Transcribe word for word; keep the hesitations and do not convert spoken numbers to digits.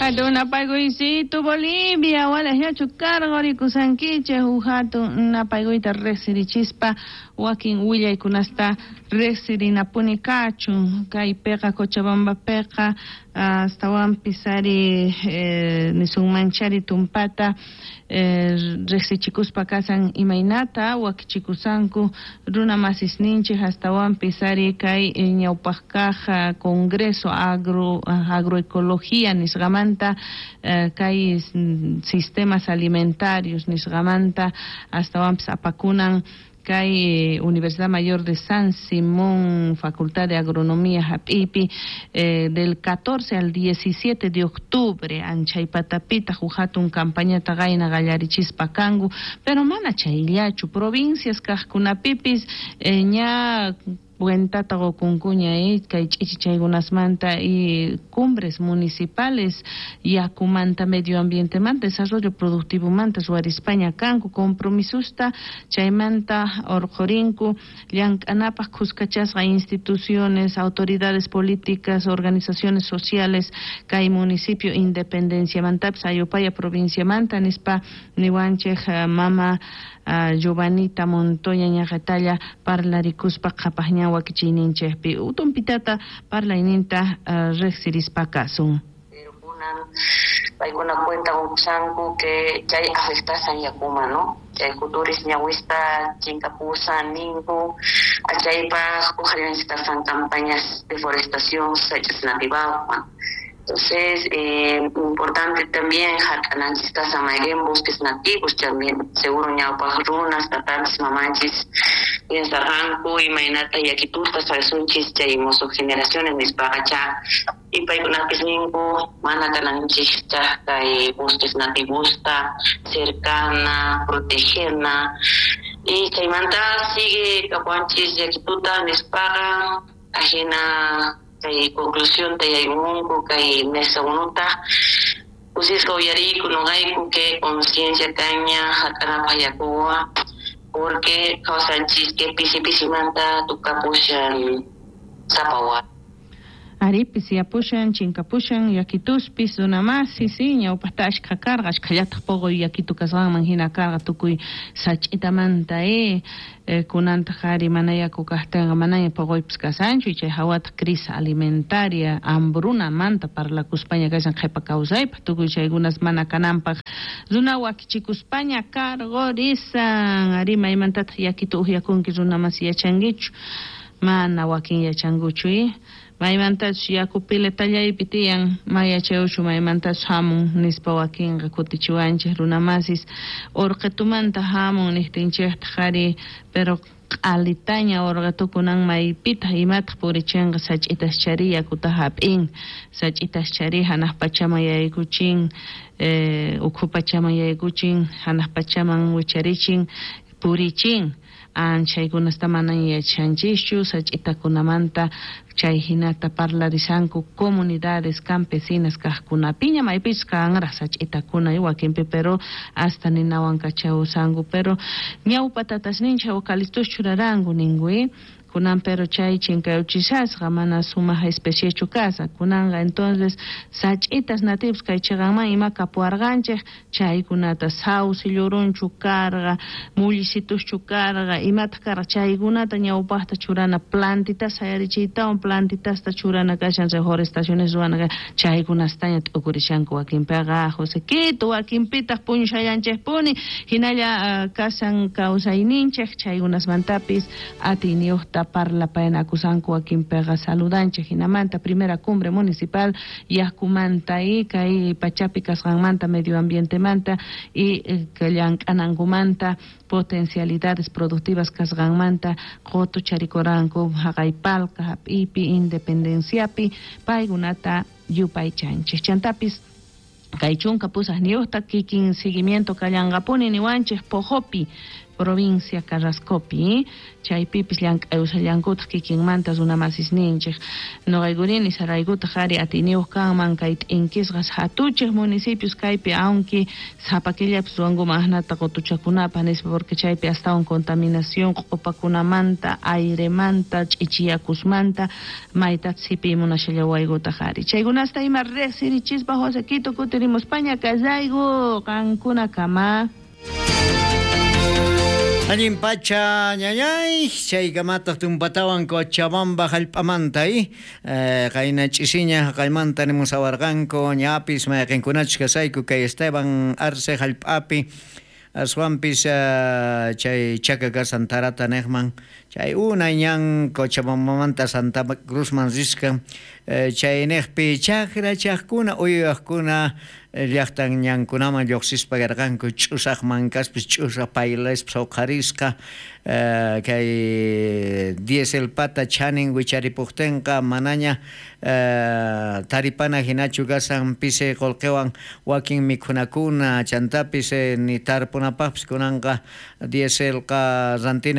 Hatun napaykuysitu Bolivia, walaj cargo rikusankichej hatun napaykuyta riqsirichispa wakin willaykunasta riqsirinapuni kachun kaypiqa Cochabambapiqa astawanpis ari eh, nisunmanchari tumpata eh, riqsichikuspa kasan imaynata wakichikusanku runa masisninchik astawanpis ari kay ñawpaq kaq Congreso Agro Agroecología nisqamanta eh, kay sistemas alimentarios nisqamanta astawanpis apakunan kay Universidad Mayor de San Simón, Facultad de Agronomía hap'ipi, eh, del catorce al diecisiete de octubre, anchaypatapita hatun campañata qayna qallarichispa kanku, pero mana chayllachu, provincias kaqkunapipis eh, ña cuentata qokunkuña eh, kay ch'ichichaykunasmanta y cumbres municipales yakumanta medio ambientemanta desarrollo productivomanta ruwarispaña kanku compromisusta chaymanta urqhurinku llank'anapaq khuskachasqa instituciones, autoridades políticas, organizaciones sociales kay municipio Independenciamantapis Ayopaya provinciamanta nispa niwanchej mama uh, Giovanita Montoya ñaqatalla parlarikuspa qhapaqñan wakichiyninchikpi utumpitata parlayninta uh, riqsirispa kasun. Pero kunan paykuna cuenta usanku que chay afectasan yakuma, ¿no? Chay kuturis ñawista chinkapusan ninku achaypaq uqallanchikasan campañas de deforestación sach'as nativawan. Entonces, eh, importante también hark'ananchis kasan mayqin bosques nativos también, seguro ñawpaq runas, tatanchis, mamanchis piensarqanku imaynata yakituta sarsunchis chay musuq generaciones nispaqa cha y paykunapis ninku mana kananchikta kay bosques nativosta cercana, protegerna y chaymanta sigue kapuanchis yakituta nispaqa ajina kay conclusión tayaymunku kay mesa unuta kusisqa uyariyku noqayku que conciencia kaña hark'anapaq yakuwa porque kawsanchis que pisi pisimanta tukapushan sapa Aripis yapushan, chinkapushan, yakituspis, runamasi, sí, ñawpaqta ashkha karqa, ashkhallataq puquy yakitu kasqanman hina karqa tukuy sach'itamanta eh, eh kunantaq ari mana yaku kaqtinqa manaña puquypis kasanchu, chay hawataq crisis alimentaria, hambrunamanta parlakuspaña kashan qhipa kawsaypaq, tukuy chaykunas mana kananpaq runa wakichikuspaña karqurisan, ari maymantataq yakitu uqyakunki runamasi yachankichu, mana wakin yachankuchu eh. Maymantachus yaku piletallaypi tiyan mayachayuchu maymantachus hamun nispa wakinqa kutichiwanchik runamasis urqitumanta hamun niqtinchiktaq ari pero q'alitaña urqitukunan maypitaq imataq purichinqa sach'itas chari yakuta hap'in sach'itas chari hanaq pachaman yaykuchin eh, ukhu pachaman yaykuchin hanaq pachaman wicharichin purichin anchaykunasta mana yachanchischu sach'itakunamanta chay hinata parlarisanku comunidades campesinas kaqkunapiña maypichus kanraq sach'itakuna wakinpi pero hasta ninawan kachawsanku pero ñawpa tatasninchik eucaliptus churaranku ninku eh kunan pero chay chinkayuchishasqa mana sumaq especiechu kasa kunanqa entonces sach'itas nativos kay chiqanman ima kapuwarqanchik chaykunata sauce llurunchu karqa mullisituchu karqa imataq karqa chaykunata ñawpaqta churana plantitas sayarichiytawan plantitasta churana kashan reforestaciones ruwana chaykunastaña t'ukurishanku wakinpiqa Josequito wakinpitaq puñushallanchikpuni hinalla uh, kasan kawsayninchik chaykunasmantapis atiyniyuqta parlapayanakusanku wakinpiqa saludanchik hinamanta primera cumbre municipal yakumanta y kay pachapi kasqanmanta medio ambientemanta y llank'anankumanta potencialidades productivas kasqanmanta qutu charikuranku haqaypalqa hap'ipi independenciapi paykunata yupaychanchik chantapis kay chunka pusaqniyuqta kikin seguimiento kallanqapuni niwanchik Pojopi Provincia Carrascopi, chaypipis llank'ayushallankutaq kikinmanta runamasisninchik. Noqaykurini saraykutaq ari atiyniyuq kanman kay t'inkisqas hatuchiq municipios kaypi, aunque sapa killapis ruwankuman asnata qutuchakunapaq nispa, porque chaypi astawan contaminación q'upakunamanta, airemanta, ch'ichiyakusmanta mayta sipiy munashallawaykutaq ari. Chaykunasta ima riqsirichispa Josequito kutirimuspaña kallayku qankuna kama. Allin pacha ñañay, chaykamataq tumpatawan Cochabamba hallp'amanta eh, qayna ch'isiña haqaymanta nimusawarqanku ñapis mayqinkunachus kasayku kay Esteban Arce hallp'api aswanpis chay chaka kasan Tarata niqman chay unay ñan Cochabambamanta Santa Cruzman risqa chay niqpi chakra chaqkuna uywaqkuna llaqtan ñankunaman lluqsispa karqanku ch'usaq mankaspis ch'usaq paylaspas huqarisqa kay dieselpata chanin wicharipuqtinqa manaña taripana hinachu kasan pisi qullqiwan wakin mikhunakuna chantapis ni tarpunapaqpis kunanqa dieselqa rantina.